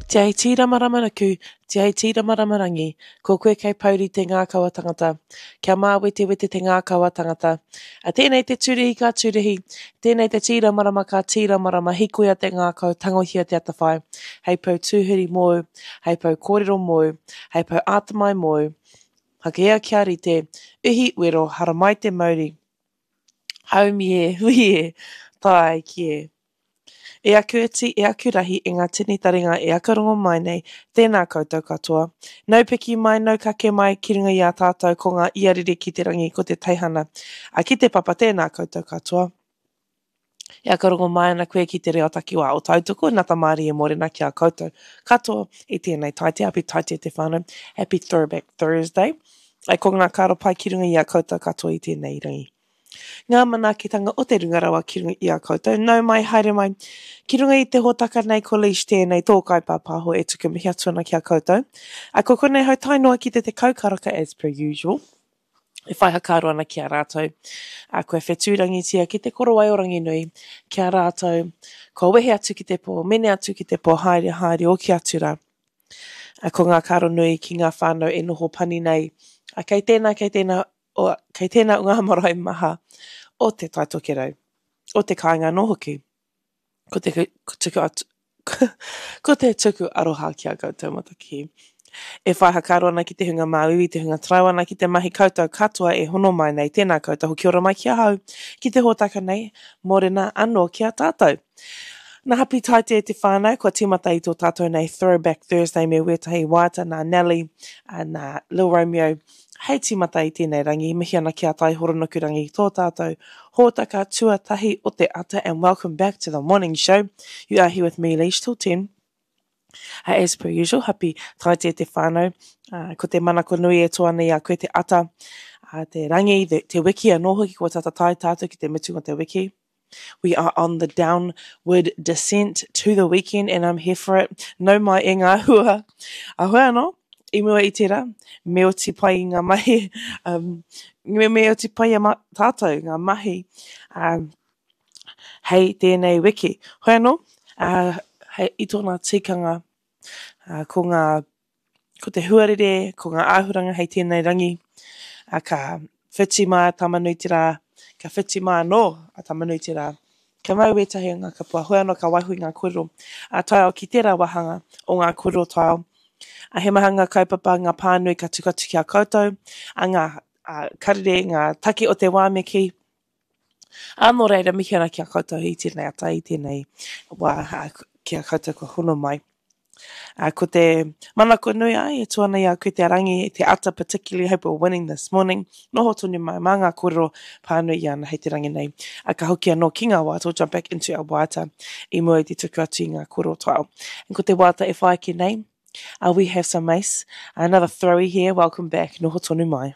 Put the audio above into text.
Te ai tīramarama-nuku, te ai tīramarama-rangi, ko koe kei pouri te ngākau a tangata, kia māwetewete te ngākau a tangata. A tēnei te tūrihi ka tūrihi, tēnei te tīramarama ka tīramarama, hikoia te ngākau, tangohia te atawhai, hei pou tūhuri mōu, hei pou kōrero mōu, hei pou ātamai mōu, Hakea kia rite, uhi wero, haramai te mauri, haumi e, hui e, tae ki e. E aku iti, e aku rahi, e ngā tini taringa e aka rongo mai nei, tēnā koutou katoa. Nau piki mai, nau kake mai, ki runga i a tātou ko ngā ia rere ki te rangi, ko te teihana, a ki te papa, tēnā koutou katoa. E aka rongo mai ana koe ki te reo takiwā o Tautoko, Nata Mārie Morena ki a koutou katoa i tēnei taite, happy taite te whānau, happy throwback Thursday. Ai ko ngā karo pai ki runga i a koutou katoa i tēnei rangi. Ngā manaakitanga o te runga rawa ki runga i a koutou. Nau mai, haere mai. Ki runga i te hōtaka nei ko Leish tēnei tō kaipāpāho e tuku mihi atu ana ki a koutou. A ko konei hau tae noa ki te 10 karaka as per usual. E whai hakaaro ana ki a rātou. A kua whetūrangitia ki te korowai o Ranginui ki a rātou. Kua wehe atu ki te pō, mene atu ki te pō, haere, haere, oki atu rā. A ko ngā karo nui ki ngā whānau e noho pani nei. A kei tēnā, kei tēnā, o, kei tēnā o ngā marae maha o Te Tai Tokerau, o te kāinga anō hoki. Ko te tuku atu, ko te tuku aroha ki a koutou Mataki. E whai hakaaro ana ki te hunga māuiui, te hunga tarau ana ki te mahi koutou katoa e hono mai nei, tēnā koutou hoki ora mai ki ahau, ki te hōtaka nei, mōrena anō ki a tātou. Nā Hapi Taite te whānau, kua tīmata i tō tātou nei Throwback Thursday me wētahi waiata nā Nelly, nā Lil Romeo, hei tīmata i tēnei rangi. Mihi ana ki a Tai Horonukurangi, tō tātou hōtaka tuatahi o te ata and welcome back to the morning show. You are here with me, Leish, till 10. As per usual, happy Taite te whānau. Ko te manako nui e tō ana i a koe te ata, te rangi, te wiki anō hoki kua tata tae tātou ki te mutunga o te wiki. We are on the downward descent to the weekend and I'm here for it. Nau mai e ngā hua. A hoi anō, i mua i tērā, me oti pai i ngā mahi, um, me, me oti pai a ma, tātou ngā mahi um, hei tēnei wiki. Hoi anō, uh, hei, i tōna tikanga, uh, ko ngā ko te huarere, ko ngā āhuranga hei tēnei rangi, ā, ka whiti mai a Tamanuiterā, ka whiti mai anō a Tamanuiterā. Ka mau wētahi o ngā kapua, hoi anō ka waiho i ngā kōrero ā taiao ki tērā wāhanga o ngā kōrero taiao. Ā, he maha ngā kaupapa, ngā pānui ka tuku atu ki a koutou, ā, ngā karere, ngā take o te wā me kī. Ā, nō reira, mihi ana ki a koutou i tēnei ata, i tēnei wā, ā, ki a koutou kua hono mai. Ā, ko te manako nui ai, e tū ana i a koe te rangi, te ata particularly, hope we're winning this morning, noho tonu mai mā ngā kōrero pānui i ana hei te rangi nei. Ā, ka hoki anō ki ngā waiata, we'll jump back into our waiata i mua i te tuku atu i ngā kōrero taiao. And ko te waiata e whai ake nei, uh, we have some mace, another throwy here, welcome back, noho tonu mai.